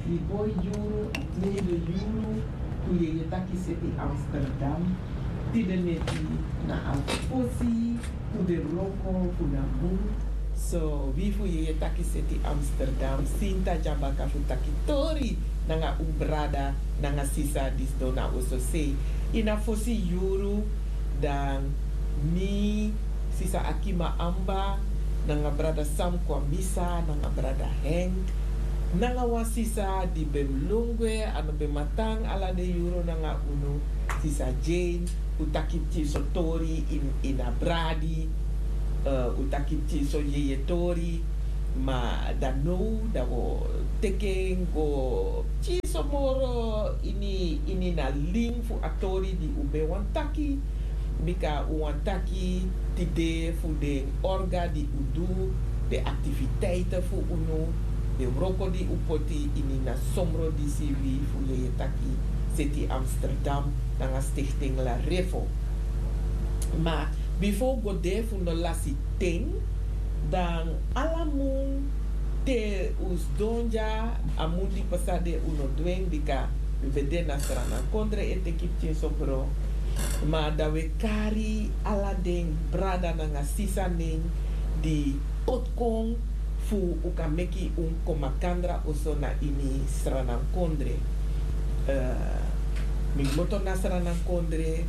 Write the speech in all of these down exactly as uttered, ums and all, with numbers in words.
Di boi yuru, a tweede yuru, fu yeye taki seti Amsterdam, tide neti na a fosi fu den wroko fu na mun. So wi fu yeye taki seti Amsterdam, sinta dya baka fu taki tori nanga un brada nanga sisa di sidon na oso sei. Ini a fosi yuru, dan mi, sisa Akima Amba, nanga brada Sam Kwamisa, nanga brada Henk, nanga wan sisa di ben lon gwe, a no ben man tan ala den yuru nanga unu, sisa Jane, un taki pikinso tori ini, ini a bradi, eh, un taki pikinso yeye tori, ma dan now dan wi o teki en go pikinso moro ini, ini na lin fu a tori di un ben wani taki, bika un wani taki tide fu den orga di un du, den aktiviteiten fu unu, den wroko di un poti ini na somro disi wi fu yeye taki seti Amsterdam nanga Stichting La Refo. Ma bifo un go de fu no lasi ten, dan ala mun te un sidon dya, a mun di pasa de un no du en bika un ben de na Sranan kondre e teki pikinso bron. Ma dan un e kari ala den brada nanga sisa nen di poti kon fu un kan meki un kon makandra oso na ini Sranan kondre. Eh, mi kmoto na Sranan kondre,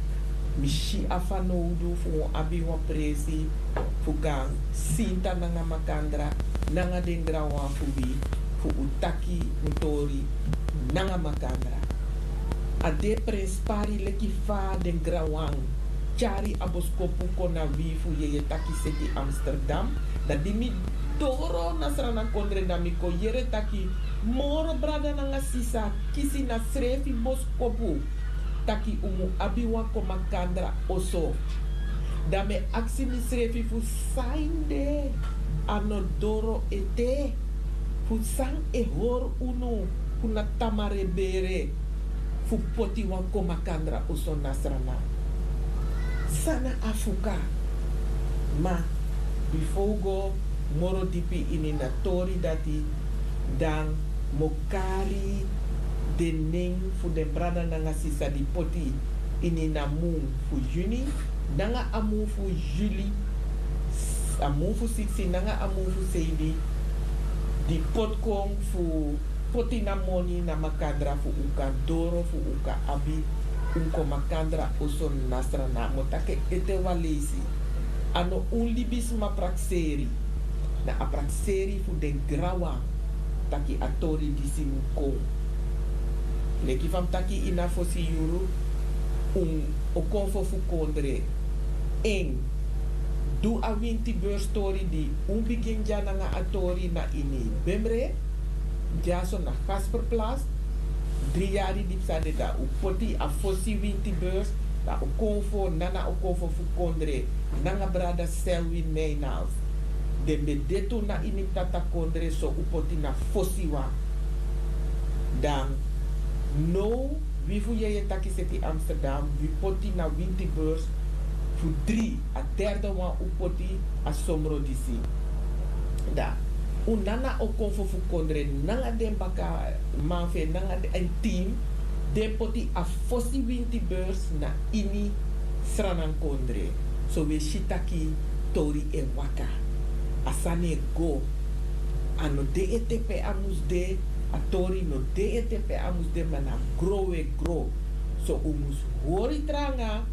mi si a fanowdu fu un abi wan presi fu kan sinta nanga makandra, nanga den granwan fu wi, fu un taki un tori nanga makandra. A de prenspari leki fa den granwan tyari a boskopu kon na wi fu yeye taki seti Amsterdam. Dan di mi doro na Sranan kondre, dan mi kon yere taki moro brada nanga sisa kisi na srefi boskopu taki un mu abi wan kon makandra oso. Dan mi e aksi misrefi fu sanede a no doro ete, fu san e hori unu fu na tamara e bere fu poti wan kon makandra oso na Sranan. San na a fuka? Ma bifo un go moro dipi ini na tori dati, dan mi o kari den nen fu den brada nanga sisa di poti ini na mun fu yuni nanga a mun fu yuli, a mun fu siksi nanga a mun fu seibi, di poti kon fu poti na moni na makandra fu un kan doro, fu un kan abi un kon makandra oso na Sranan. Mi o taki en ete wan leisi. A no un libisma prakseri. Na a prakseri fu den granwan taki a tori disi mu kon. Leki fa mi taki ini a fosi yuru, un o konfo fu kondre. En du a winti beurs tori di un bigin dya nanga a tori na ini Bemre, dyaso na Gasperplas. Dri yari di psa de, dan un poti a fosi winti beurs, dan un konfo, nana un konfo fu kondre nanga brada Selwyn Mijnals. Den ben de tu na ini mi tata kondre, so un poti na fosiwan. Dan now wi fu yeye taki seti Amsterdam, wi poti na winti beurs fu dri, a derde wan un poti a somro disi. Dan un nana o konfo fu kondre nanga den bakaman fu en nanga den team, den poti a fosi winti beurs na ini Sranan kondre. So wi e si taki tori e waka. A sani e go. A no de ete pe a mus de, a tori no de ete pe a mus de, ma na gro wi e gro. So un mus hori tranga,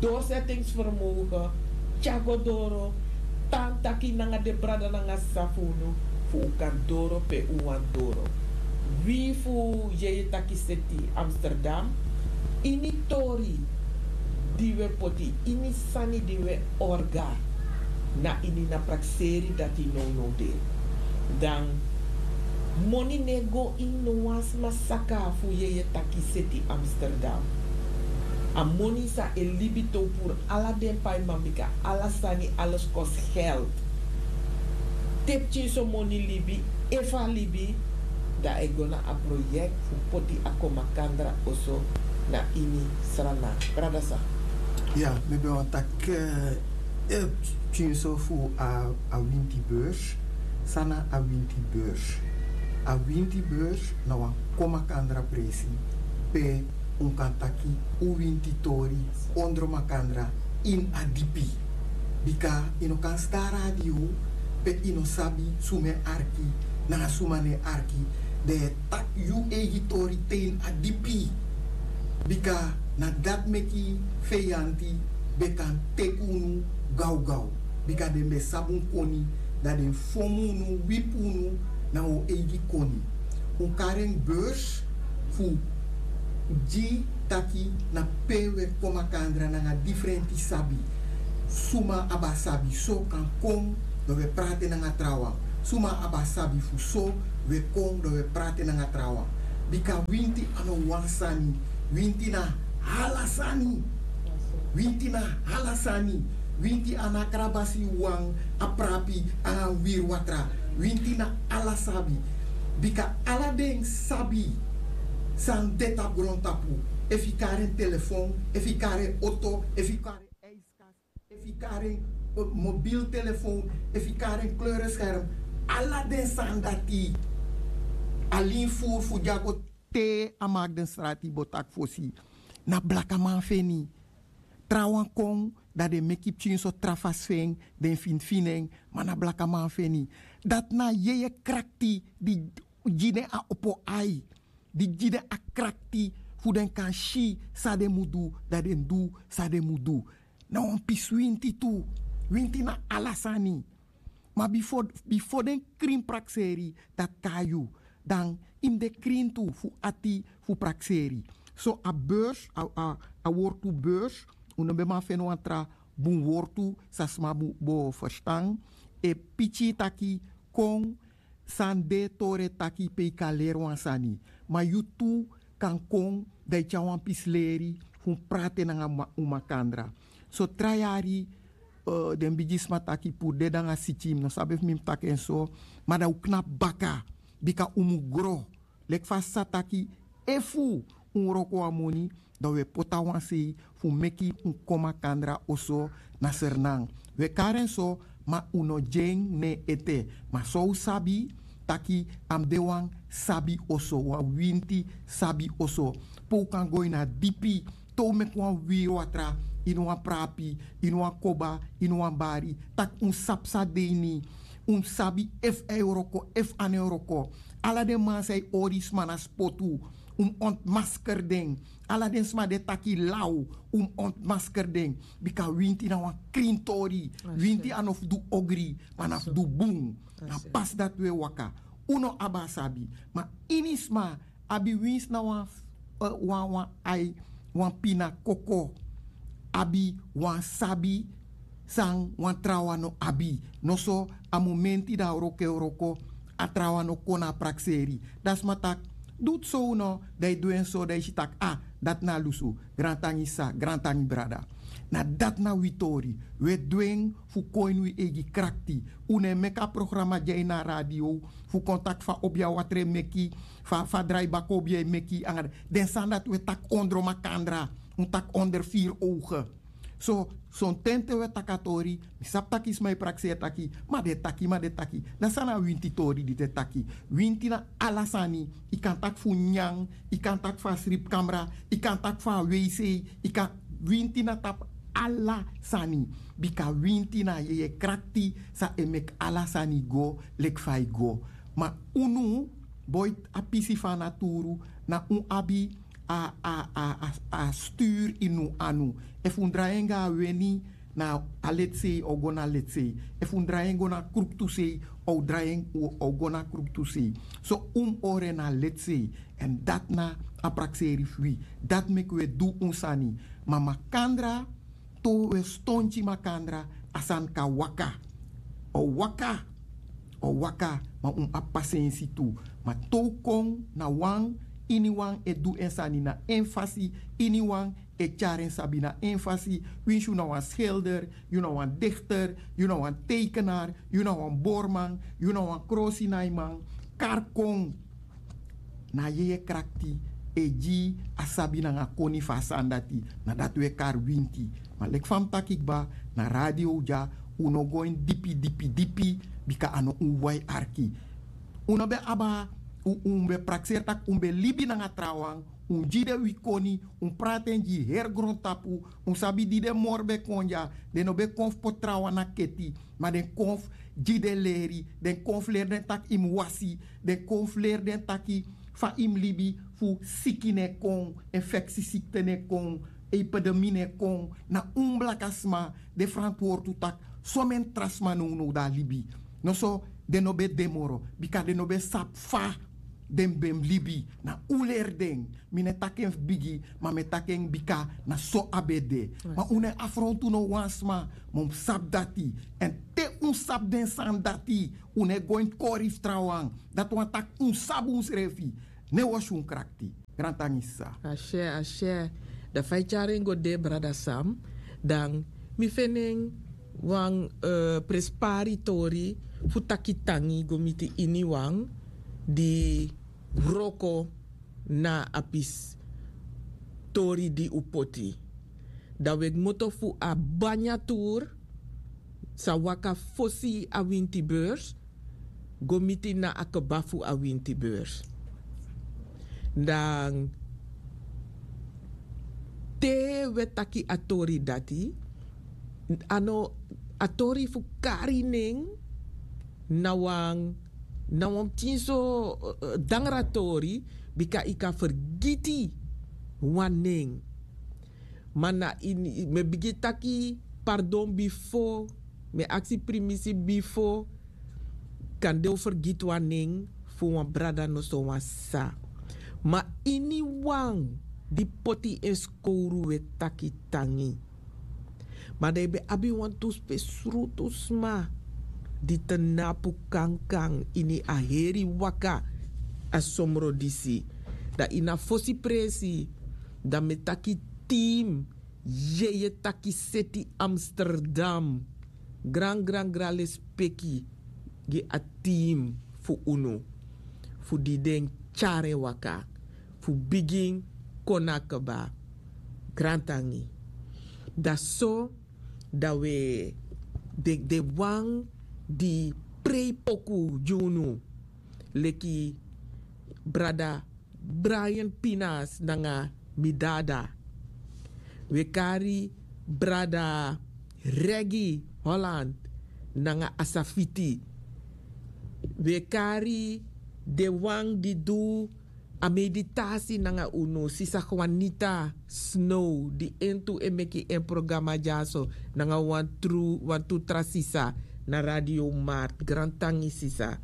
doorzettingsvermogen, tyari go doro, tan taki nanga den brada nanga sisa fu unu, fu un kan doro pe un wani doro. Wi fu yeye taki seti Amsterdam, ini tori di wi e poti, ini sani di wi e orga, na ini na prakseri dati nownow de. Dan moni no e go ini no wan sma saka fu yeye taki seti Amsterdam. A moni san e libi te un puru ala den paiman, bika ala sani, alles kost geld. Te pikinso moni libi, efu a libi, dan a e go na a proyekti fu poti a kon makandra oso na ini Sranan. Brada Sam. Ya, mi ben wani taki, eh, pikinso fu a, a winti beurs. San na a winti beurs? A winti beurs na wan kon makandra presi pe un kan taki un winti tori ondro makandra ini a dipi. Bika yu no kan stan a radio pe yu no sabi suma e arki nanga suma no e arki. Dan yu e taki yu eigi tori te ini a dipi. Bika na dati meki feyanti ben kan teki unu gawgaw. Bika den ben sabi un koni, dan den fomu unu, wipi unu na un eigi koni. Un kari en beurs fu gi taki na pe un e kon makandra nanga difrenti sabi. Suma abi a sabi so kan kon, dan un e prati nanga trawan. Suma abi a sabi fu so, un e kon dan un e prati nanga trawan. Bika winti a no wan sani. Winti na ala sani. Winti na ala sani. Winti a no a krabasi wan, a prapi, a wiri watra. Winti na ala sabi. Bika ala den sabi san de tapu grontapu. Efu yu kari en telefon, efu yu kari en oto, efu yu kari en ijskast, efu yu kari en eh, mobiltelefon, efu yu kari en kleurescherm. Ala den sani dati. Alin furu fu dyago te a maki den strati bo taki fosi. Na blakaman feni. Trawan kon, dan den meki pikin so tra fasi fu en, den finfini en, ma na blakaman feni. Dati na yeye krakti di gi den a opo ai, di gi den a krakti fu den kan si san den mu du, dan den du san den mu du. Na wan pisi winti tu. Winti na ala sani. Ma bifo, bifo den krin prakseri dati kon na yu, dan yu mus de krin tu fu ati fu prakseri. So a beurs, a, a, a wortu beurs, un no ben man feni wan tra bun wortu san sma bo, bo ferstan. E piki taki kon san de tori e taki pe yu kan leri wan sani. Ma yu tu kan kon dan yu tyari wan pisi leri fu un prati nanga ma-, un makandra. So tra yari, eh, den bigisma taki puru dede nanga siki, mi no sabi efu mi mus taki en so, ma dan un knapu baka, bika un mus gro. Leki fa a sa taki, efu un wroko wan moni, dan un e poti na wan sei fu meki un kon makandra oso na Sranan. Un e kari en so, ma un no gi en na en ete. Ma san un sabi taki a mus de wan sabi oso, wan winti sabi oso. Pe un kan go ini a dipi, te un meki wan wiri watra ini wan prapi, ini wan koba, ini wan bari, taki un sabi san de ini. Un mus sabi efu a e wroko, efu a no e wroko. Ala den man san e hori sma na spotu, un mus ontmasker den. Ala den sma di e taki law, un mus ontmasker den. Bika winti na wan krin tori. Winti a no fu du ogri, ma na fu du bun. Na pasi dati un e waka. Un no abi a sabi. Ma ini sma abi winsi na wan, eh, wan, wan ai, wan pina koko, abi wan sabi san wan trawan no abi. Noso a momenti dan a wroko e wroko, a trawan no kon na a prakseri. Dan sma taki, du tu so no, dan yu du en so, dan yu si taki, ah, dati na a lusu. Grantangi sa, grantangi brada. Na dati na wi tori. Un e du en fu kon ini wi eigi krakti. Un no e meki a programa dya ini a radio fu kon taki fa obi a watra e meki, fa, fa drai baka obi e meki, anga den sani dati un e taki ondro makandra, un taki onder vier ogen. So, sonten te un e taki a tori, mi sabi taki sma e prakseri taki, ma den e taki, ma den e taki. Dan san na winti tori di den e taki? Winti na ala sani, yu kan taki fu nyan, yu kan taki fu a sripikamra, yu kan taki fu a weisei, yu kan, winti na tapu ala sani. Bika winti na yeye krakti san e meki ala sani go leki fa e go. Ma unu, boiti a pisi fu a naturu, na un abi a, a, a, a, a sturu ini un anu. Efu un drai en go na weni, na a letsei o go na letsei. Efu un drai en go na kruktusei, o drai en o, o go na kruktusei. So un mus hori en na letsei. Èn dati na a prakseri fu wi. Dati meki un e du un sani. Ma makandra, te un e stonti makandra, a sani kan waka. O waka. O waka, ma un abi pasensi tu. Ma te un kon na wan, iniwan e du en sani na en fasi, iniwan e tyari en sabi na en fasi, winsi yu na wan schilder, yu na wan dichter, yu na wan tekenaar, yu na wan borman, yu na wan krosinaiman, kari kon. Na yeye krakti e gi a sabi nanga koni fu a sani dati, na dati un e kari winti. Ma leki fa mi taki kba, na radio dya, un no go ini dipi, dipi, dipi, bika a no un wai arki. Un no ben abi a Un ben prakseri tak' un ben libi nanga trawan. Un gi den wi koni. Un prati en gi heri grontapu. Un sabi di den moro ben kon dya. Den no ben kon fu poti trawan na keti, ma den kon fu gi den leri. Den kon fu leri den tak' yu mus wasi. Den kon fu leri den taki fa yu mus libi, fu siki no e kon, infeksisikte no e kon, epidemi no e kon. Na un blaka sma de frantwortu tak' someni tra sma nownow de a libi. Noso den no ben de moro, bika den no ben sabi fa den ben mus libi. Na un leri den. Mi no e taki en fu bigi, ma mi e taki en bika na so a ben de. Ma un no e afrontu no wan sma. Ma un mus sabi dati. Èn te un sabi den sani dati, un no e go ini kori fu trawan. Dati wani tak' un sabi unsrefi. No e wosi un krakti. Grantangi sisa. Ashe, ashe. Dan fa yu tyari en go de, brada Sam, dan mi feni en wan, eh, prespari tori fu taki tangi go miti iniwan di wroko na a pisi tori di un poti. Dan un e kmoto fu a banya tour san waka fosi a winti beurs go miti na a kba fu a winti beurs. Dan te un e taki a tori dati, a no a tori fu kari nen na wan, na wan pikin so, eh, dangra tori, bika yu kan fergiti wan nen. Ma na ini, mi e bigin taki pardon bifo, mi e aksi primisi bifo, kande un fergiti wan nen fu wan brada noso wan sisa. Ma iniwan di poti en skowru un e taki tangi. Ma dan yu ben abi wantu spesrutu sma di tnapu kankan ini a heri waka a somro disi. Dan ini a fosi presi, dan mi e taki team, yeye taki seti Amsterdam. Gran gran gran lespeki gi a team fu unu, fu di den tyari en waka fu bigin kon na kba. Grantangi. Dan so, dan un e, den, den wan di prei poku gi unu, leki brada Brian Pinas nanga Midada. Un e kari brada Regi Holland nanga Asafiti. Un e kari den wan di du a meditasi nanga unu, sisa Juanita Snow, di en tu e meki en programa dyaso nanga wan tru, wantu tra sisa na Radio Mart. Grantangi sisa.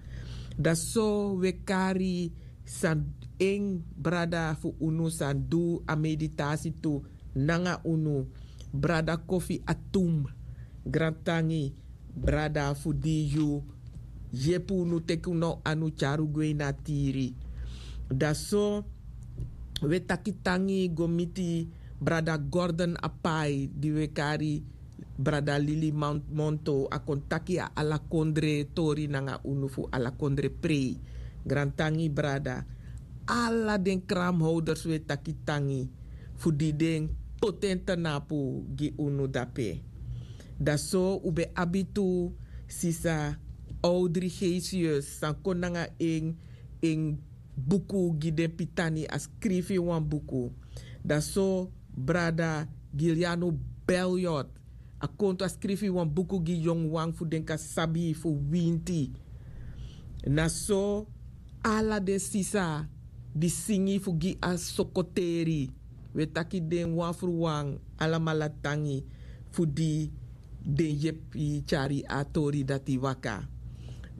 Dan so un e kari san, en brada fu unu san du a meditasi tu nanga unu, brada Kofi Atum. Grantangi brada fu di yu yepi unu, teki unu anu tyari un gwe ini a tiri. Dan so un e taki tangi go miti brada Gordon Apai, di un e kari brada Lili Mon-, Monto, a kon taki a ala kondre tori nanga unu fu ala kondre prei. Grantangi brada. Ala den kramhouders un e taki tangi fu di den poti en tnapu gi unu dape. Dan so un ben abi tu sisa Audrey Gesius san kon nanga en, en buku gi den pitani, a skrifi wan buku. Dan so brada Giliano Beliot a kon tu, a skrifi wan buku gi yongu wan fu den kan sabi fu winti. Na so ala den sisa di singi fu gi a sokoteri, un e taki den wan fu wan alamala tangi fu di den yepi tyari a tori dati waka.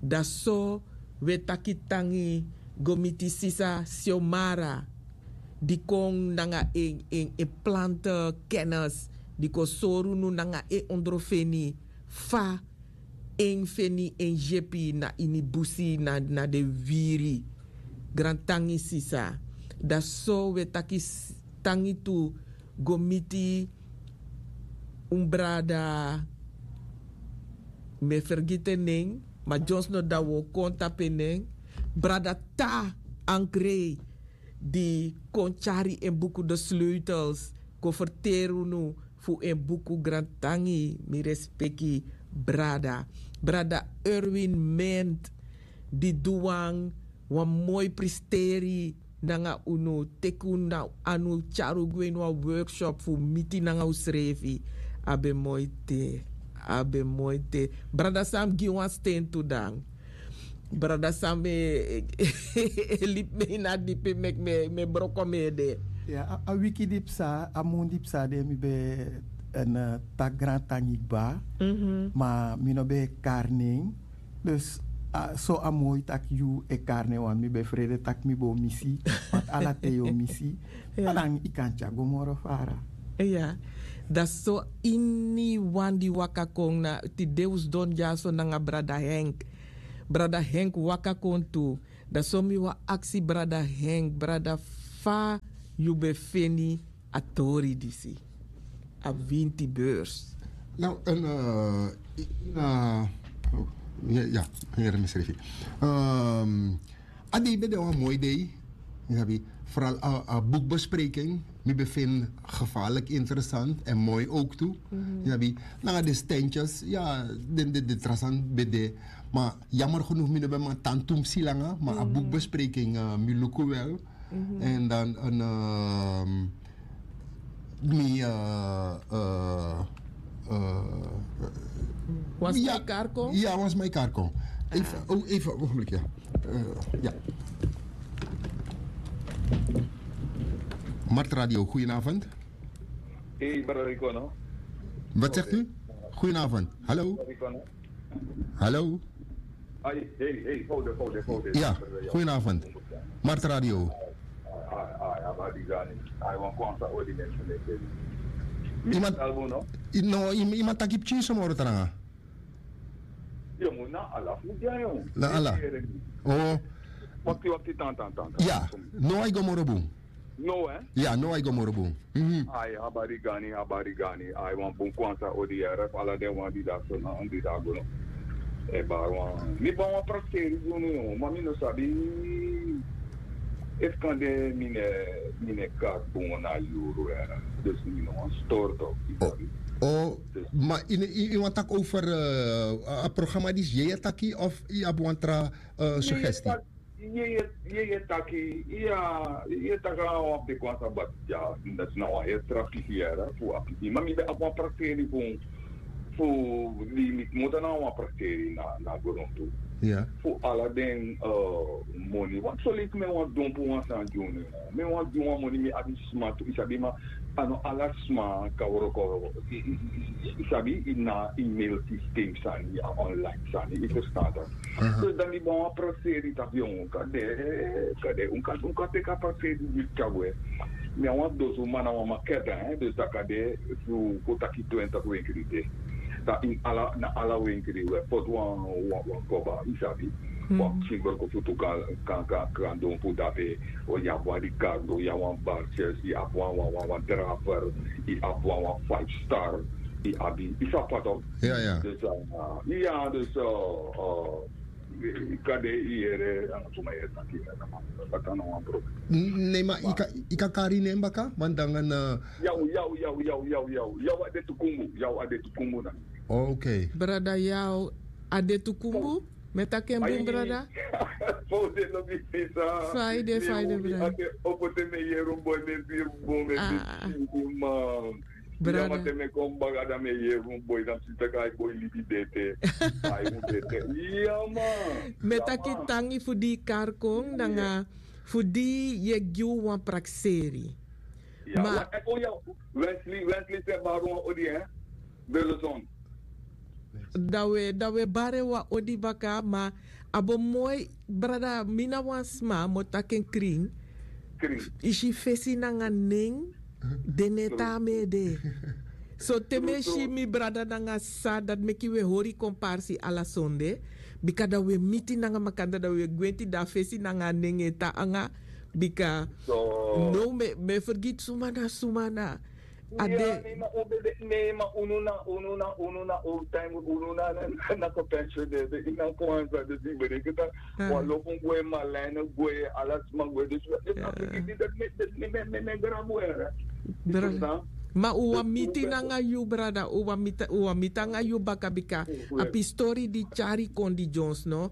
Dan so un e taki tangi go miti sisa Xiomara, di kon nanga en, en, en plante kennis, di kon sori unu nanga en ondrofeni fa en feni en yepi na ini busi, na, na den wiri. Grantangi sisa. Dan so un e taki s-, tangi tu go miti un brada, mi e fergiti en nen, ma dyonsi no dan un o kon tapu en nen, brada Ta Ankrei, di kon tyari en buku De Sleutels kon ferteri unu fu en buku. Grantangi, mi respeki brada. Brada Erwin Ment, di du wan wan moi pristeri nanga unu, teki unu na anu tyari un gwe ini wan workshop fu miti nanga unsrefi. A ben moi te. A ben moi te. Brada Sam gi wan sten tu dan. Brada Sam e libi mi ini a dipi meki mi e broko mi ede. Ya, a wiki di psa, a mun di psa de mi ben e taki grantangi kba. Ma mi no ben e kari nen. Dus so a moi tak' yu e kari nen wan mi ben frede tak' mi bo misi. Wantu ala ten yu o misi. Anan yu kan tyari go moro fara. Iya. Dati so, iniwan di waka kon na tide un sidon dyaso nanga brada Henk. Brada Henk waka kon tu. Dati so mi wani aksi brada Henk, brada, fa yu ben feni a tori disi? A winti beurs. Nou, en, eh, in, eh, oh, ya, ya, here mi srefi. A dei ben de wan moi dei. Yu sabi, vooral a boekbespreking mi ben vind gevaarlijk interessant en mooi ook tu. Yu sabi, nanga de stentjes, ya, den de trasan ben de. Maar jammer genoeg mi no ben man tan tumsi langa, maar a boekbespreking mi luku wel. En dan een, mi, eh, eh, eh, Wan sma e kari kon? Ya, wan sma e kari kon. Even, oh, even, ogenblik, ya. Eh, ya. Mart Radio, goedenavond. Hey, brother Ricono. Wat zegt u? Goedenavond. Hallo? Hallo? Hey, hey, hey, hold it, hold it, hold it. Ya, goedenavond. Mart Radio. Ai, ai, ai, abadi gani. Ai, wan kwansa odi mensen. Iemand, no, iemand taki pikin so moro tranga. Yo, mo na ala fu dia yo. Na ala. Oh. Wakti, wakti, tan, tan, tan. Ya, no ai go moro bun. No, eh? Ya, no ai go moro bun. Ai, habari gani, habari gani. Ai, wan bun kwansa odi yere fu ala den wan di dati so na wan di dati go no. E bari wan. Mi bari wan prakseri gi unu, ma mi no sabi efu kande mi ne, mi ne kari bun na yuru yere. Dus mi no wan stori tok. Oh, ma yu wani taki over a programma disi, yu e taki of yu abi wan tra suggestie? Yu e taki, yu e taki nanga wan peki wan sabat, ya, dati na wan heri tra pisi yere fu a pisi. Ma mi ben abi wan prakseri fu, fu di mi kmoto nanga wan prakseri na, na grontu. Fu ala den moni, want so leki mi e wani donpu wan sani gi unu. Mi e wani gi wan moni, mi abi sma tu, yu sabi, ma a no ala sma kan wroko, yu sabi, ini a email system sani, a online sani, yu ferstan. Dus dan mi ben wani prakseri taki un kan de, kan de, un kan, un kan teki a prakseri di tyari gwe. Mi a wan dosu man na wan maketa, dus dan kan de fu kon taki twintig wenkri de. Dan ini ala, na ala wenkri un e poti wan, wan, wan koba, yu sabi. Wan pikin broko futu kan, kan, kan, kan donpu dape. Yu abi wan Ricardo, yu abi wan Barces, yu abi wan, wan, wan, wan Draver, yu abi wan, wan Five Star, yu abi, yu sabi fa tok. Ya, ya. Dus, ya, dus, kande yu yere nanga suma yu e taki, dati no wan problem. Nee, ma yu kan, yu kan kari nen baka, want dan na. Yaw, yaw, yaw, yaw, yaw, yaw, yaw, a de Tukumbu, yaw, a de Tukumbu na. Ok. Brada, yaw, a de Tukumbu? Mi e taki en bun, brada. Fa yu de, fa yu de, brada? Opo te mi e yere un boi, mi e firi bun, mi e firi bun, man. Brada. Ya, ma te mi e kon baka, dan mi e yere un boi, dan mi si taki a boi libi de ete. A boi de ete. Ya, man. Mi e taki tangi fu di yu kari kon, nanga fu di yu e gi wan prakseri. Ya, ma Wesley, Wesley, se bari wan odi, hè? Belleson. Dan wi, dan wi e bari en wan odi baka, ma a bo moi, brada, mi na wan sma, mi o taki en krin. Krin. Yu si, fesi nanga nen, den no e tan na mi ede. So te mi e si mi brada nanga sisa, dati meki wi e hori komparsi ala sonde. Bika dan wi e miti nanga makandra, dan wi e gwenti, dan a fesi nanga a nen e tan nanga. Bika now mi e, mi e fergiti suma na suma na. A de. Nee, ma un ben de, nee, ma unu na, unu na, unu na old time, unu na, na, na kon pensioneer de, ini a kwansa, dus yu ben denki taki wan lofu gwe, Marlijn gwe, ala sma gwe, dus a fergiti dati mi, mi, mi, mi, mi grabu, hè. Brada. Ma un wani miti nanga yu, brada, un wani miti, un wani miti nanga yu baka, bika a pistori di tyari kon di Jones, no?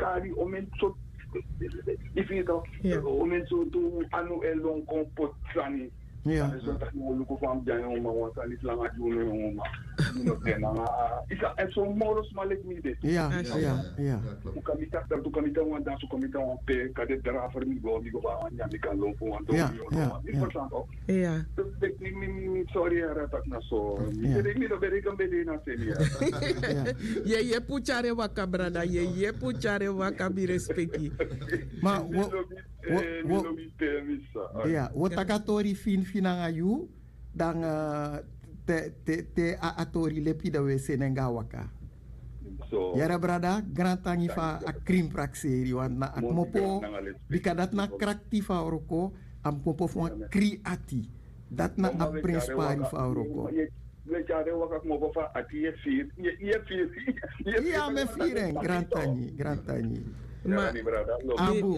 kari omen so. Ifi to omen so tu anu e lon kon pot sani. Sani so taki wan luku fan byan yon man wan sani slanga di unu yon man. Ino ten nanga isa en so moro sma leki mi de. Ya ya ya. Un kan mi taki dan tu kan mi tan wan dan su kan mi tan wan pe kade drafer mi go mi go fa wan nyan mi kan lon fu wan don mi yon man. Ifi to. Ya. Respect ni mi mi mi sorry ya ratak na so. Mi bere mi no bere kan bere na se mi ya. Ye ye puchare waka brada ye ye puchare waka mi respeki. Ma wo wo wo ya wo taka tori fin fin nanga yu. Dan te te te a a tori lepi dan we senen ga waka. Yere brada grantangi fa a krin prakseri wan na a kmopo. Bika dati na krakti fa wroko. A kmopo fu wan kri ati. Dati na a prenspari fa wroko. Iya me firen grantangi grantangi. Ma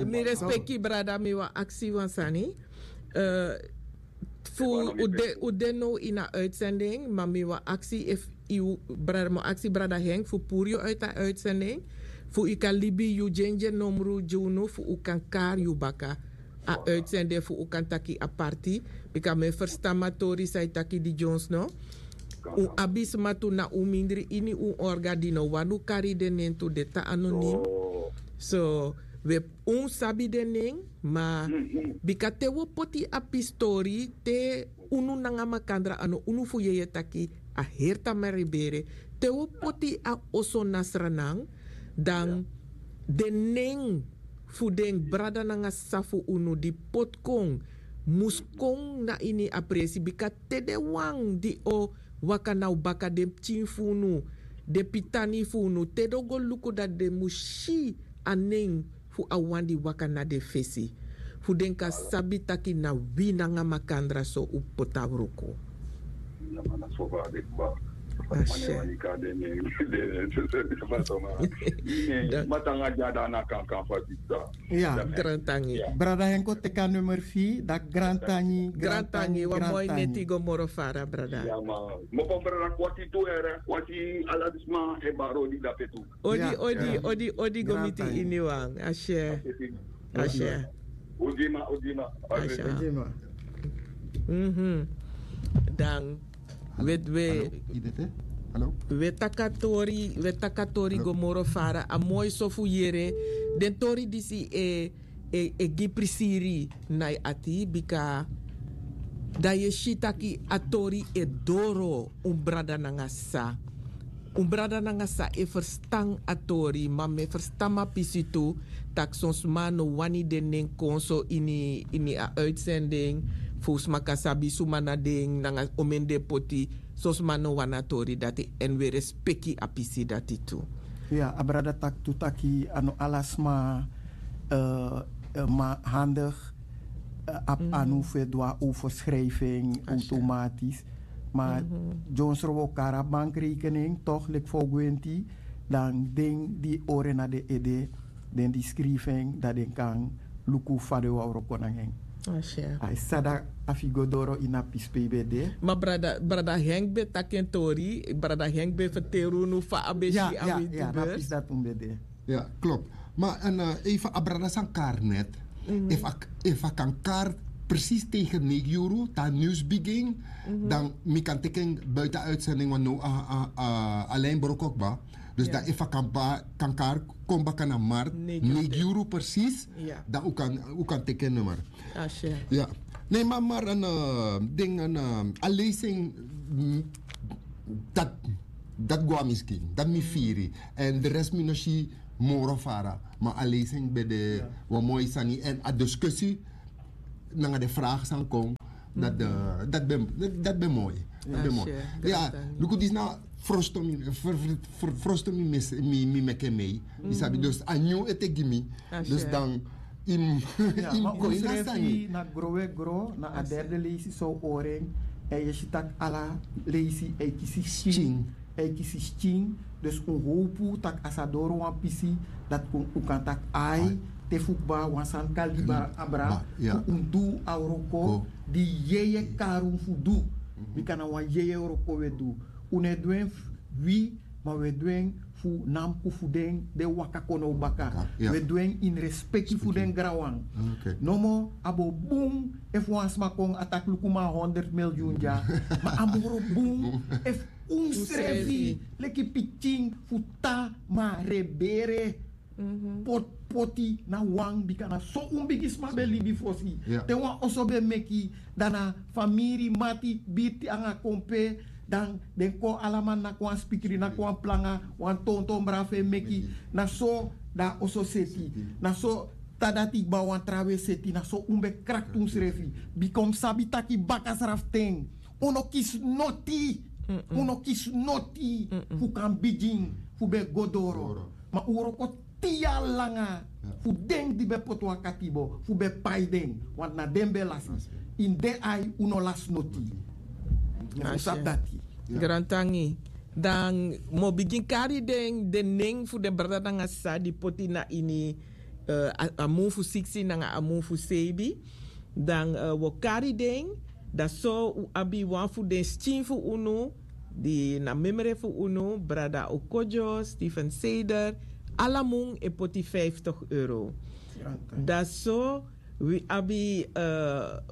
mi respeki brada mi wan aksi wan sani. Fu u de now ini a uitzending ma mi wan aksi efu yu brada mi wan aksi brada henk fu puru yu uiti a uitzending. Fu yu kan libi yu dyendye nomru gi unu fu u kan kari yu baka. A uitzending fu u kan taki aparti. Bika mi e ferstan matori san yu taki di dyons no. Un abi sma tu na un mindri ini un orga di no wani un kari den nen tu den tan anonim. So we un sabi den nen. Ma bika te wi o poti a pistori te unu nanga makandra a no unu fu yeye taki a heri tamari bere. Te wi o poti a oso na sranan dan den nen fu den brada nanga sisa fu unu di poti kon mus kon na ini a presi bika te den wan di o waka na un baka den pikin fu unu den pitani fu unu te den o go luku dati den mus si a nen fu a wan di waka na den fesi fu den kan sabi taki na wi nanga makandra so un poti a wroko. Masha. Matanga dya dana kankan fa bita. Ya. Grantangi. Brada henko teki a nummer fi daki grantangi. Grantangi wan moi neti go moro fara brada. Moko brada kwati tu ere kwati ala di sma e bari odi dape tu. Odi odi odi odi go miti ini wan a share. A share. Odi ma odi ma. A share. Dan we we we taki a tori we taki a tori go moro fara a moi so fu yere. Den tori disi e e gi prisiri na yu ati bika dan yu e si taki a tori e doro un brada nanga sisa. Un brada nanga sisa e ferstan a tori ma mi e ferstan mi a pisi tu tak' son sma no wani den nen kon so ini a uitsending fu sma kan sabi suma na den nanga omeni den poti. Son sma no wani a tori dati èn wi e respeki a pisi dati tu. Ya a brada taki tu taki a no ala sma ma handigi abi anu fu e du a overschrijfing automatisch. Ma dyonsro wi o kari a bankrekening tok' leki fa o gwenti dan den di ore na den ede. den di skrifi en dan den kan luku fa den wawroko nanga en. A e sani dati a fu go doro ini a pisi pe yu ben de. Ma brada henk ben taki en tori, brada henk ben ferteri unu fa a ben si a weti bers. Na a pisi dati un ben de. Ya, klop. Ma en efu a brada san kari net, efu a kan kari presis tegen neigi yuru te a niws bigin, dan mi kan teki en buiten uitzending want no a lijn broko kba. Dus dan efu a kan kari kon baka na markt neigi yuru presis, dan un kan teki en nummer. Ya. Nee, ma mar en ding en a lezing, dat go a miskin dat mi firi. En de rest mi no si moro fara. Ma a lezing ben de wan moi sani en a discussie nanga de vraag san kon. Dat ben moi. Dat ben moi. Ya. Luku disi na frosto mi frosto mi meke mei. Yu sabi dus a nyun ete gi mi. Dus dan yu mus go ini a sani. Na growe gro na a derde leisi so ori en. En yu si tak' ala leisi e kisi skin. E kisi skin. Dus un howpu tak' a sa doro wan pisi dati un kan taki ai te fu kba wan sani kan libi abra fu un du a wroko di yeye kari un fu du. Bika na wan yeye wroko un e du. Un no e du en fu wi, ma un e du en fu namku fu den den waka kon now baka. Un e du en ini respeki fu den granwan. Nomo a bo bun efu wan sma kon a taki luku mi a honderd milyun dya. Ma a moro bun efu unsrefi leki pikin fu tan ma rebere poti na wan bika na so un bigisma ben libi fosi. Te wan oso ben meki dan na famiri mati birti nanga kompe dan den kon alaman naki wan spikri naki wan planga wan tonton brafu e meki. Na so dan a oso seti na so tan dati kba wan trawe seti na so un ben krakti unsrefi. Bika un mus sabi taki baka srafu ten un no kisi noti. Un no kisi noti fu kan bigin fu ben go doro. Ma un wroko tin yari langa fu den di ben poti wan katibo fu ben pai den. Want na den ben lasi ini den ai un no lasi noti. Fu sabi dati. Grantangi. Dan mi o bigin kari den den nen fu den brada nanga sisa di poti na ini a mun fu siksi nanga a mun fu seibi. Dan wi o kari den. Dan so un abi wan fu den skin fu unu di na memre fu unu brada okodyo stephen seder. Ala mun e poti vijftig euro. Dan so wi abi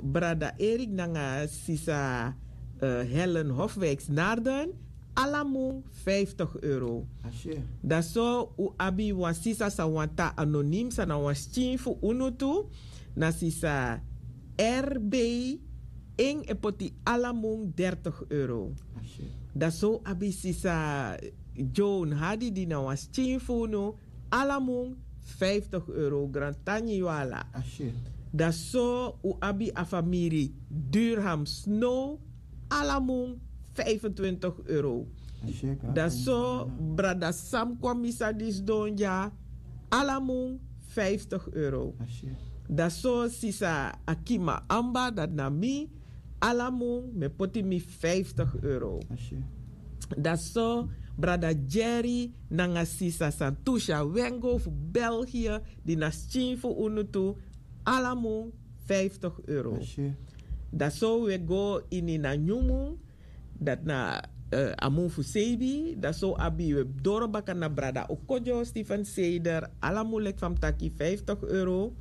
brada erik nanga sisa helen hofwijks narden. Ala mun vijftig euro. Dan so un abi wan sisa san wanta anonim san na wan skin fu unu tu. Na sisa r b en e poti ala mun dertig euro. Dan so un abi sisa joan hadi di na wan skin fu unu. Ala mun vijftig euro grantangi yu ala. Dan so un abi a famiri durham snow. Ala mun vijfentwintig euro. Dan so brada sam kon misa disi don dya. Ala mun vijftig euro. Dan so sisa akima amba dati na mi. Ala mun mi e poti mi vijftig euro. Dan so brada jerry nanga sisa santusia wengo fu belgië di na skin fu unu tu. Ala mun vijftig euro. Dan so wi e go ini na nyun mun. Dati na a mun fu seibi dan so abi wi e doro baka na brada okodyo stephen seder. Ala mun leki fa mi taki vijftig euro.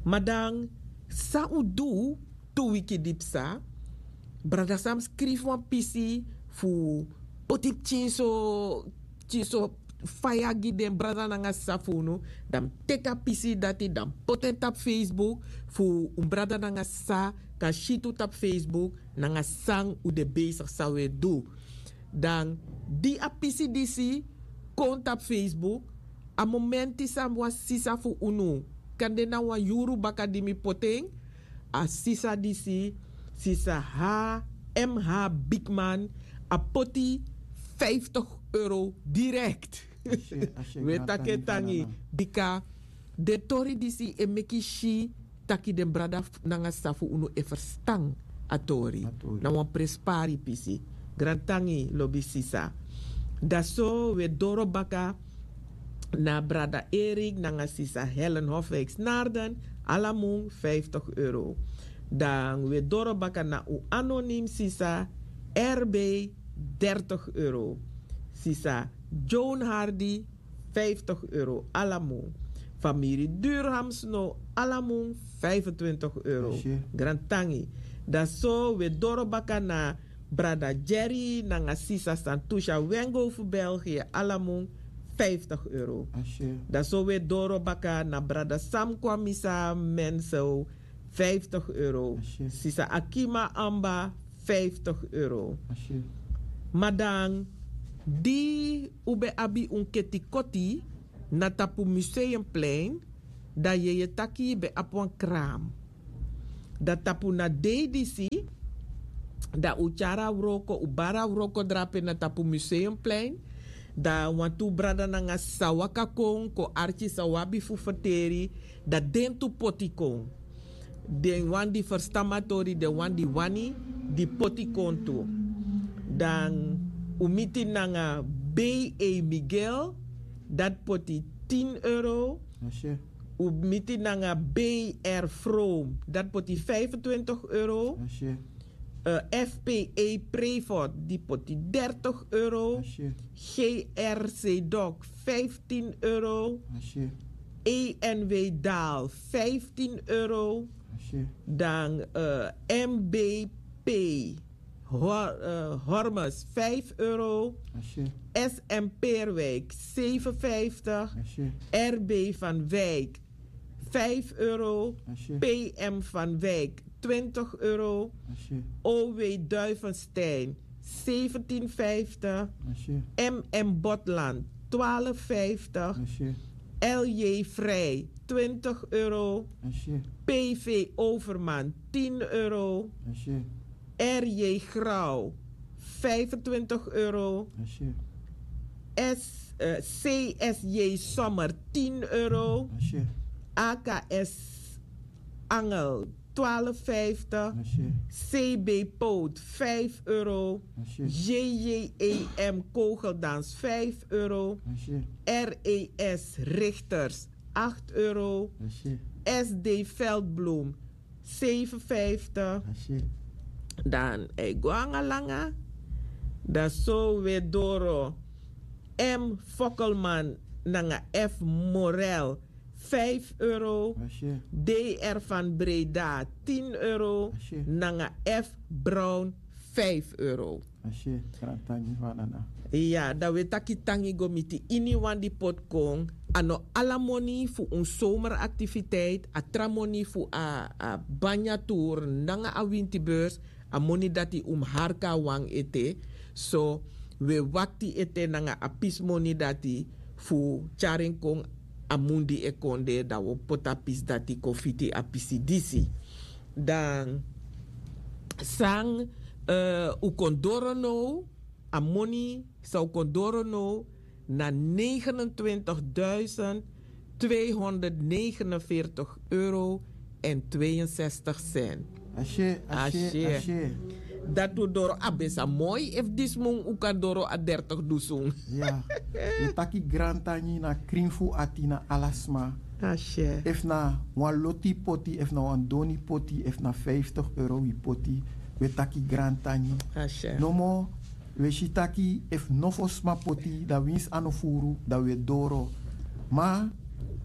Ma dan san un du tu wiki di psa. Brada san mi skrifi wan pisi fu poti pikin so faya gi den brada nanga sisa fu unu. Dan mi teki a pisi dati dan mi poti en tapu facebook fu un brada nanga sisa kan si tu tapu facebook nanga san un de besigi san un e du. Dan di a pisi disi kon tapu facebook a momenti san wan sisa fu unu kan de na wan yuru baka di mi poti en. A sisa disi sisa ha mh bigman a poti vijftig euro direkt. Wi e taki en tangi bika den tori disi e meki si taki den brada nanga sisa fu unu e ferstan a tori na wan prenspari pisi. Grantangi lobi sisa. Dan so wi e doro baka na brada Erik nanga sisa Helen Hofwijks Naarden, ala mun vijftig euro. Dan we doro baka na un anonim sisa R B, dertig euro. Sisa Joan Hardy, vijftig euro ala mun. Famiri Durham Snow, ala mun vijfentwintig euro. Grantangi. Dan so we doro baka na brada Jerry nanga sisa Santusha Wengo fu België, ala mun vijftig euro. Dan so we doro baka na brada Sam Kwamisa Mensel, vijftig euro. Sisa Akima Amba, vijftig euro. Madan, di un ben abi un keti koti na tapu Museumplein, dan yeye taki ben abi wan kraam. Dan tapu na dei disi, dan un tyari a wroko, un bari a wroko drape na tapu Museumplein. Dan wantu brada nanga sisa waka kon, kon arki san un abi fu ferteri, dan den tu poti kon. Den wan di ferstan mi a tori, den wan di wani, di poti kon tu. Dan un miti nanga B E Miguel, dati poti tin euro. Un miti nanga B R Vroom, dati poti vijfentwintig euro. F P E Prevot, di poti dertig euro. G R C Doc, vijftien euro. E N W Daal, vijftien euro. Dan M B P Hormus, vijf euro. S M Peerwijk, zeven vijftig. R B van Wijk, vijf euro. P M van Wijk, twintig euro. O W Duivenstein, zeventien vijftig. M M Botland, twaalf vijftig. L J Vrij, twintig euro. P V Overman, tien euro. R J Grauw, vijfentwintig euro. S, eh, C S J Sommer, tien euro. A K S Angel, twaalf vijftig. C B Poot, vijf euro. J J E M Kogeldans, vijf euro. R E S Richters, acht euro. S D Veldbloem, zeven vijftig. Dan hij go anga langa. Dan so we doro M Fokkelman nanga F Morel, vijf euro. D R van Breda, tien euro. Nanga F Brown, vijf euro. Ashe, grantangi fu a nana. Ya, dan we taki tangi go miti iniwan di poti kon. A no ala moni fu un zomeraktiviteit, a tra moni fu a, a banya tour nanga a wintibeurs, a moni dati un mus harka a wan ete. So, we wakti ete nanga a pisi moni dati fu tyari en kon a mun di e kon de, dan wi o poti a pisi dati kon fiti a pisi disi. Dan san, eh, un kon doro now, a moni san un kon doro now na negenentwintig duizend tweehonderdnegenenveertig euro en tweeënzestig cent. Ashe, ashe, ashe. Dati un doro, a ben sa moi efu disi mun un kan doro a dertig dusun. Ya. Wi taki grantangi na krin fu ati na ala sma. Ashe. Efu na wan loti poti, efu na wan doni poti, efu na vijftig euro wi poti, wi taki grantangi. Ashe. Nomo, wi e si taki efu nofo sma poti, dan winsi a no furu, dan wi e doro. Ma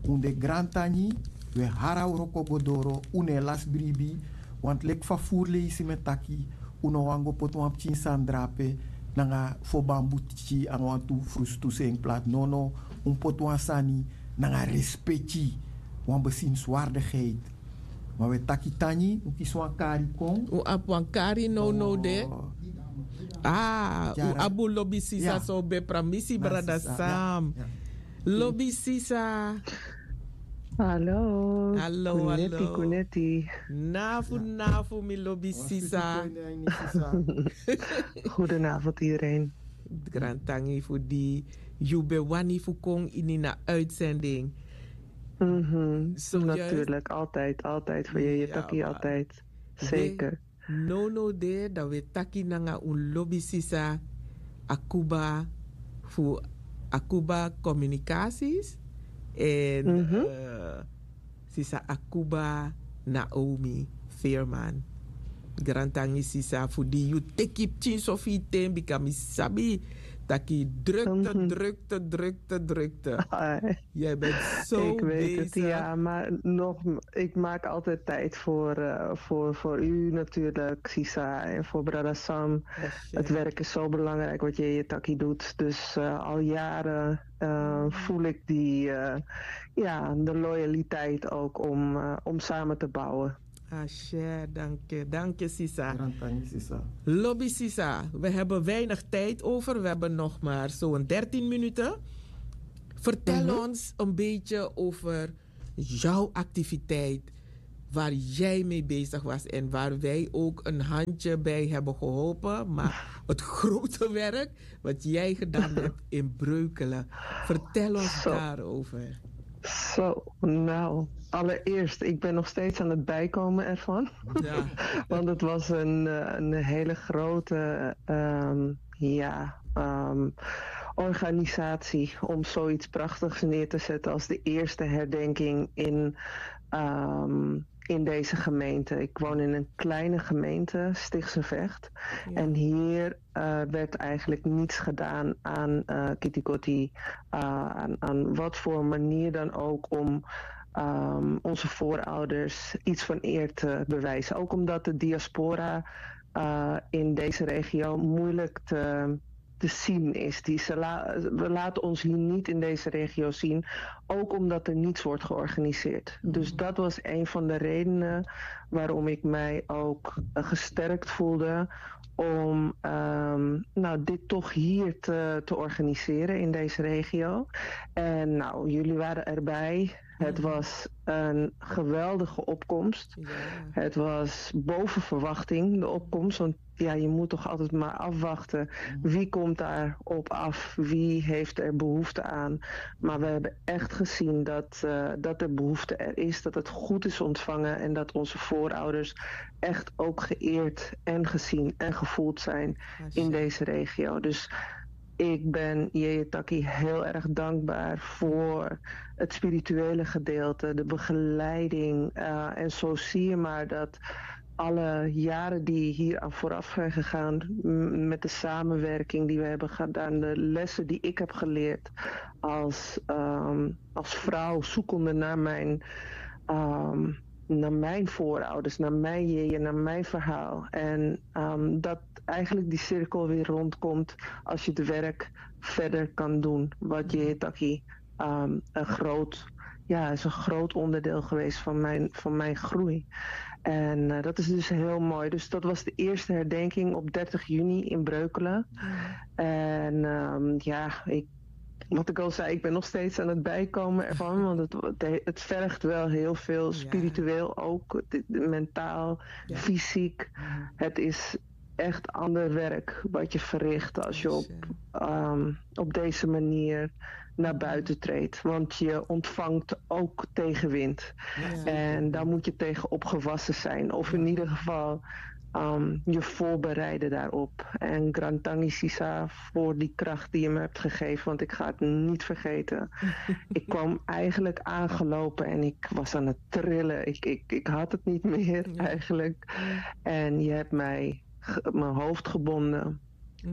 un de grantangi, wi e hari a wroko go doro, un no e lasi bribi. Want leki fa furu leisi mi e taki, un no wani go poti wan pikin sani drape nanga fo bambu tiki anga wantu frustu seni plati. Nono, un poti wan sani nanga respeki, wan bezienswaardigheid. Ma wi e taki tangi, un kisi wan kari kon. Un abi wan kari nownow de. Ah, un abi un lobi sisa, so ben pramisi brada Sam. Lobi sisa. Hallo. Hallo, hallo. Kuneti, kuneti. Nafu, nafu, mi lobi sisa. Goedenavond iedereen. Grantangi fu di yu ben wani fu kon ini na uitzending. Mhm. Zojuist. Natuurlijk, altijd, altijd voor je, je taki altijd. Zeker. Nownow de, dan wi e taki nanga un lobi sisa Akuba fu Akuba Communicaties, en, mhm, eh, sisa Akuba Naomi Veerman. Grantangi sisa fu di yu teki pikin so fu yu ten, bika mi sabi taki drukte, mhm, drukte, drukte, drukte. Ai. Jij bent zo bezig. Ik weet het, ja, maar nog, ik maak altijd tijd voor, eh, voor, voor u natuurlijk, Sisa, en voor Brada Sam. Het werk is zo belangrijk wat Yeye Taki doet. Dus eh, al jaren eh, voel ik die, eh, ja, de loyaliteit ook om, eh, om samen te bouwen. Asher, dank je. Dank je, sisa. Grantangi, sisa. Lobby, sisa. We hebben weinig tijd over. We hebben nog maar zo'n dertien minuten. Vertel ons een beetje over jouw activiteit, waar jij mee bezig was en waar wij ook een handje bij hebben geholpen. Maar het grote werk wat jij gedaan hebt in Breukelen. Vertel ons daarover. Zo, nou, allereerst, ik ben nog steeds aan het bijkomen ervan. Ja. Want het was een, eh, een hele grote, ehm, ja, ehm, organisatie om zoiets prachtigs neer te zetten als de eerste herdenking in, ehm, in deze gemeente. Ik woon in een kleine gemeente, Stichtse Vecht. Ja. En hier eh, werd eigenlijk niets gedaan aan eh Kitikoti, eh, aan, aan wat voor manier dan ook om ehm, onze voorouders iets van eer te bewijzen. Ook omdat de diaspora eh, in deze regio moeilijk te, te zien is. Die, ze la- we laten ons hier niet in deze regio zien, ook omdat er niets wordt georganiseerd. Dus dat was een van de redenen waarom ik mij ook eh, gesterkt voelde om ehm, nou, dit toch hier te, te organiseren in deze regio. En nou, jullie waren erbij. Het was een geweldige opkomst. Ja. Het was boven verwachting, de opkomst. Want ja, je moet toch altijd maar afwachten. Wie komt daar op af? Wie heeft er behoefte aan? Maar we hebben echt gezien dat, eh, dat er behoefte er is, dat het goed is ontvangen en dat onze voorouders echt ook geëerd en gezien en gevoeld zijn in deze regio. Dus ik ben Yeye Taki heel erg dankbaar voor het spirituele gedeelte, de begeleiding. Eh, en zo zie je maar dat alle jaren die hier aan vooraf zijn gegaan, m- met de samenwerking die we hebben gedaan, de lessen die ik heb geleerd als, ehm, als vrouw zoekende naar mijn, ehm, naar mijn voorouders, naar mijn jeje, naar mijn verhaal. En ehm, dat eigenlijk die cirkel weer rondkomt als je het werk verder kan doen. Wat je taki ehm, een groot, ja, is een groot onderdeel geweest van mijn, van mijn groei. En eh, dat is dus heel mooi. Dus dat was de eerste herdenking op dertig juni in Breukelen. En ehm, ja, ik, wat ik al zei, ik ben nog steeds aan het bijkomen ervan. Want het, het, het vergt wel heel veel spiritueel ook, dit- mentaal, fysiek. Het is echt ander werk wat je verricht als je op, ehm, op deze manier naar buiten treedt. Want je ontvangt ook tegenwind. En daar moet je tegen opgewassen zijn. Of in ieder geval ehm, je voorbereiden daarop. En Grantangi Sisa voor die kracht die je me hebt gegeven. Want ik ga het niet vergeten. Ik kwam eigenlijk aangelopen en ik was aan het trillen. Ik, ik, ik had het niet meer eigenlijk. En je hebt mij ge- mijn hoofd gebonden.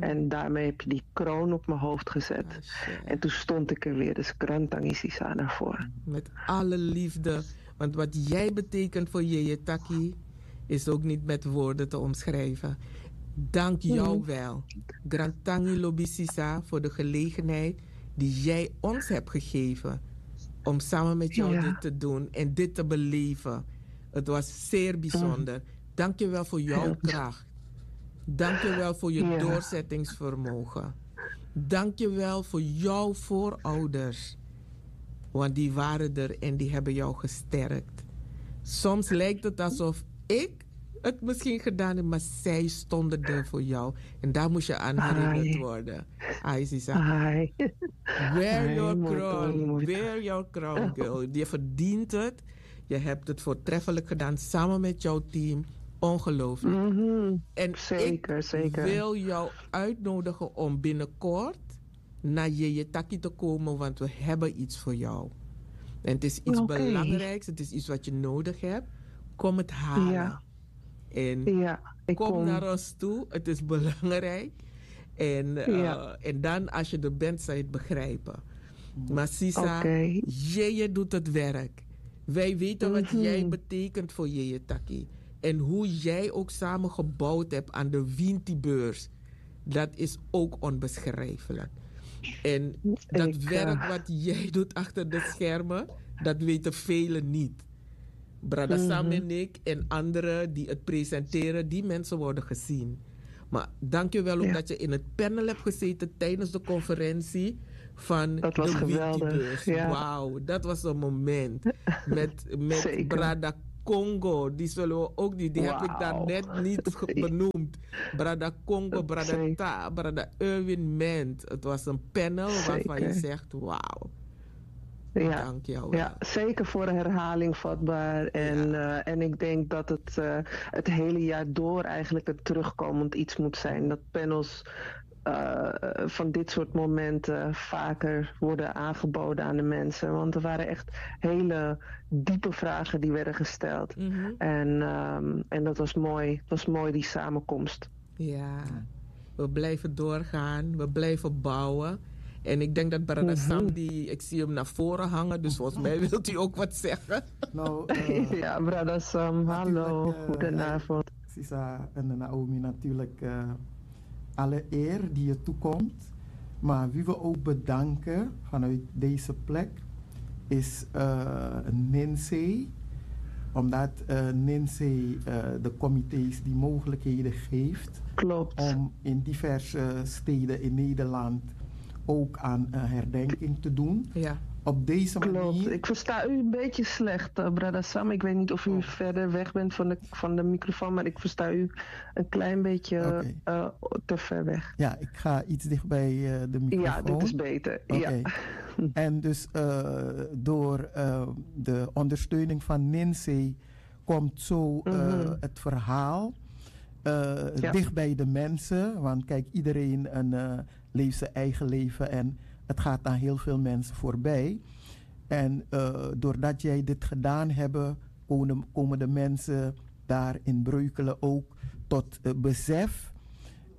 En daarmee heb je die kroon op mijn hoofd gezet. En toen stond ik er weer. Dus Grantangi Sisa naar voren. Met alle liefde. Want wat jij betekent voor Yeye Taki is ook niet met woorden te omschrijven. Dank jou wel, Grantangi Lobisisa, voor de gelegenheid die jij ons hebt gegeven om samen met jou dit te doen en dit te beleven. Het was zeer bijzonder. Dank je wel voor jouw kracht. Dank je wel voor je doorzettingsvermogen. Dank je wel voor jouw voorouders. Want die waren er en die hebben jou gesterkt. Soms lijkt het alsof ik het misschien gedaan heb, maar zij stonden er voor jou. En daar moest je aan herinnerd worden. Ai, Sisa. Wear your crown. Wear your crown, girl. Je verdient het. Je hebt het voortreffelijk gedaan samen met jouw team. Ongelooflijk. En ik wil jou uitnodigen om binnenkort naar Yeye Taki te komen, want we hebben iets voor jou. En het is iets belangrijks, het is iets wat je nodig hebt. Kom het halen. En kom naar ons toe, het is belangrijk. En, uh, en dan als je er bent, zal je het begrijpen. Maar Sisa, Yeye doet het werk. Wij weten wat jij betekent voor Yeye Taki. En hoe jij ook samen gebouwd hebt aan de Winti-beurs. Dat is ook onbeschrijfelijk. En dat werk wat jij doet achter de schermen, dat weten velen niet. Brada Sam en ik en anderen die het presenteren, die mensen worden gezien. Maar dank je wel ook dat je in het panel hebt gezeten tijdens de conferentie van de Winti-beurs. Wauw, dat was een moment. Met, met Brada Congo, die zullen we ook niet, die heb ik daar net niet benoemd. Brada Congo, Brada Ta, Brada Erwin Ment. Het was een panel waarvan je zegt, wauw. Ja, zeker voor herhaling vatbaar. En, uh, en ik denk dat het, uh, het hele jaar door eigenlijk een terugkomend iets moet zijn. Dat panels uh, van dit soort momenten vaker worden aangeboden aan de mensen. Want er waren echt hele diepe vragen die werden gesteld. En, um, en dat was mooi. Het was mooi, die samenkomst. Ja, we blijven doorgaan, we blijven bouwen. En ik denk dat Brada Sam, die, ik zie hem naar voren hangen, dus volgens mij wilt u ook wat zeggen. Nou, uh, ja, Brada Sam, hallo, uh, goedenavond. Sisa en Naomi, natuurlijk uh, alle eer die je toekomt. Maar wie we ook bedanken vanuit deze plek is uh, Ninsei. Omdat uh, Ninsei uh, de comité's die mogelijkheden geeft om in diverse steden in Nederland ook aan uh, herdenking te doen. Ja. Op deze manier. Klopt. Ik versta u een beetje slecht, uh, Brada Sam. Ik weet niet of u verder weg bent van de, van de microfoon, maar ik versta u een klein beetje okay. uh, te ver weg. Ja, ik ga iets dicht bij uh, de microfoon. Ja, dit is beter. Okay. Ja. En dus uh, door uh, de ondersteuning van Ninsei komt zo uh, mm -hmm. het verhaal uh, ja. dicht bij de mensen. Want kijk, iedereen een, uh, leeft zijn eigen leven en het gaat aan heel veel mensen voorbij. En uh, doordat jij dit gedaan hebt, komen, komen de mensen daar in Breukelen ook tot uh, besef.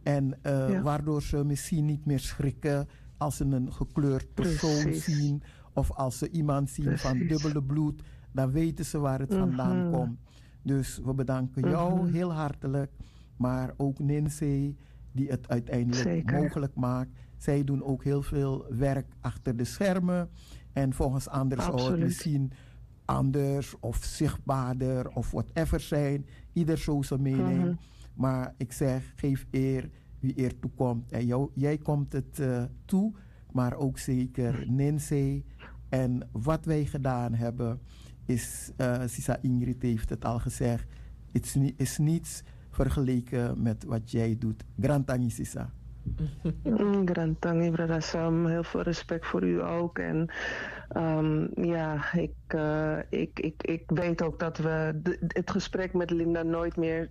En uh, ja. waardoor ze misschien niet meer schrikken als ze een gekleurd persoon Precies. zien of als ze iemand zien Precies. van dubbele bloed, dan weten ze waar het mm -hmm. vandaan komt. Dus we bedanken jou mm -hmm. heel hartelijk, maar ook Ninsei die het uiteindelijk Zeker. mogelijk maakt. Zij doen ook heel veel werk achter de schermen. En volgens anders zou het misschien anders of zichtbaarder of whatever zijn. Ieder zo zijn mening. Mm -hmm. Maar ik zeg, geef eer wie eer toekomt. En jou, jij komt het uh, toe, maar ook zeker Ninsei. En wat wij gedaan hebben, is, uh, Sisa Ingrid heeft het al gezegd, het is, ni is niets vergeleken met wat jij doet. Grantangi, Sisa. Mm, Grantangi, Brada Sam. Heel veel respect voor u ook. En um, ja, ik, uh, ik, ik, ik weet ook dat we de, het gesprek met Linda nooit meer.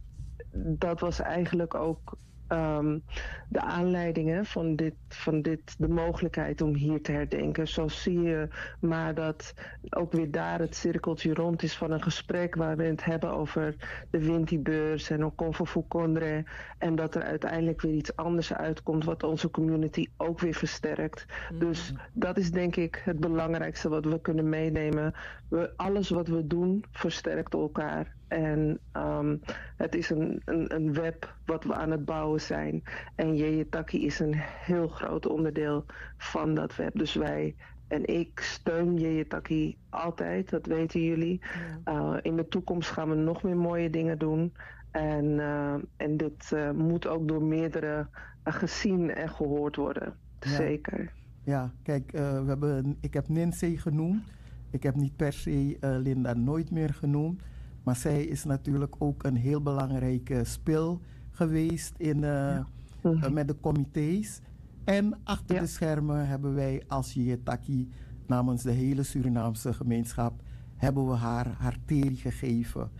Dat was eigenlijk ook um, de aanleiding hè, van, dit, van dit, de mogelijkheid om hier te herdenken. Zo zie je maar dat ook weer daar het cirkeltje rond is van een gesprek waar we het hebben over de Winti-beurs en Okonfo Fukondre. En dat er uiteindelijk weer iets anders uitkomt wat onze community ook weer versterkt. Mm. Dus dat is denk ik het belangrijkste wat we kunnen meenemen. We, alles wat we doen versterkt elkaar. En um, het is een, een, een web wat we aan het bouwen zijn. En Yeyetaki is een heel groot onderdeel van dat web. Dus wij en ik steun Yeyetaki altijd, dat weten jullie. Ja. Uh, in de toekomst gaan we nog meer mooie dingen doen. En, uh, en dit uh, moet ook door meerdere gezien en gehoord worden. Ja. Zeker. Ja, kijk, uh, we hebben, ik heb Ninsei genoemd. Ik heb niet per se uh, Linda nooit meer genoemd. Maar zij is natuurlijk ook een heel belangrijke spil geweest in, uh, ja. uh, met de comité's. En achter ja. de schermen hebben wij als Yeyetaki namens de hele Surinaamse gemeenschap hebben we haar haar teri gegeven.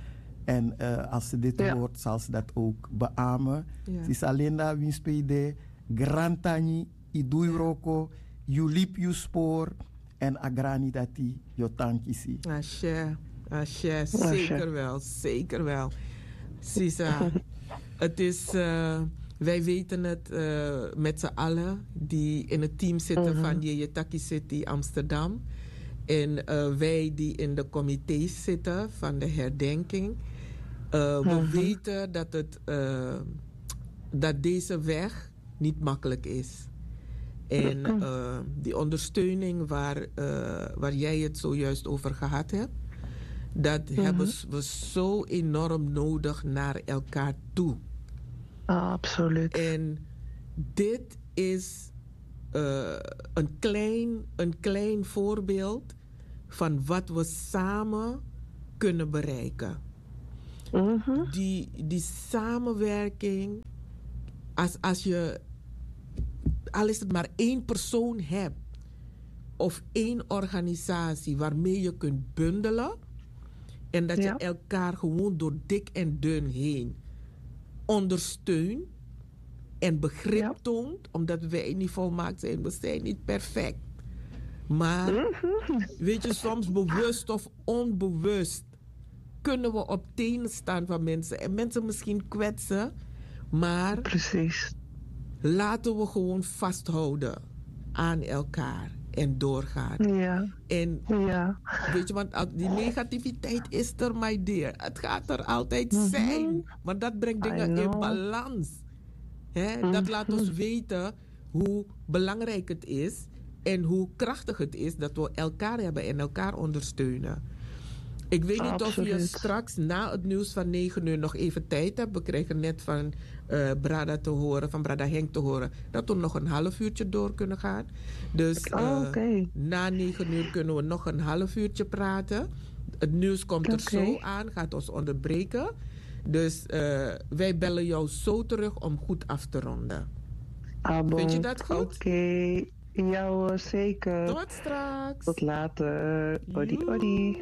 En uh, als ze dit ja. hoort, zal ze dat ook beamen. Ja. Sisa Linda, winspede, grantangi, yu du yu wroko, yu libi yu spori, èn a grani dati yu o tan kisi. Ashe, ashe, zeker wel, zeker wel. Sisa, het is, eh, wij weten het, eh, met z'n allen die in het team zitten van Yeye Taki City Amsterdam. En eh, wij die in de comité's zitten van de herdenking, eh, we weten dat het, eh, dat deze weg niet makkelijk is. En eh, die ondersteuning waar, eh, waar jij het zojuist over gehad hebt, dat hebben s- we zo enorm nodig naar elkaar toe. Absoluut. En dit is eh, een, klein, een klein voorbeeld van wat we samen kunnen bereiken. Die, die samenwerking, als, als je, al is het maar één persoon hebt of één organisatie waarmee je kunt bundelen en dat je elkaar gewoon door dik en dun heen ondersteunt en begrip toont, omdat wij niet volmaakt zijn, we zijn niet perfect. Maar weet je, soms bewust of onbewust kunnen we op tenen staan van mensen en mensen misschien kwetsen, maar precies, laten we gewoon vasthouden aan elkaar en doorgaan. Ja. En ja, weet je, want al- die negativiteit is er, my dear. Het gaat er altijd zijn, want dat brengt dingen in balans. Hè? Dat laat ons weten hoe belangrijk het is en hoe krachtig het is dat we elkaar hebben en elkaar ondersteunen. Ik weet niet of je straks na het nieuws van negen uur nog even tijd hebt. We krijgen net van eh, Brada te horen, van Brada Henk te horen, dat we nog een half uurtje door kunnen gaan. Dus eh, na negen uur kunnen we nog een half uurtje praten. Het nieuws komt er zo aan, gaat ons onderbreken. Dus eh, wij bellen jou zo terug om goed af te ronden. Vind je dat goed? Oké. Ja hoor, zeker. Tot straks. Tot later. Odi, odi.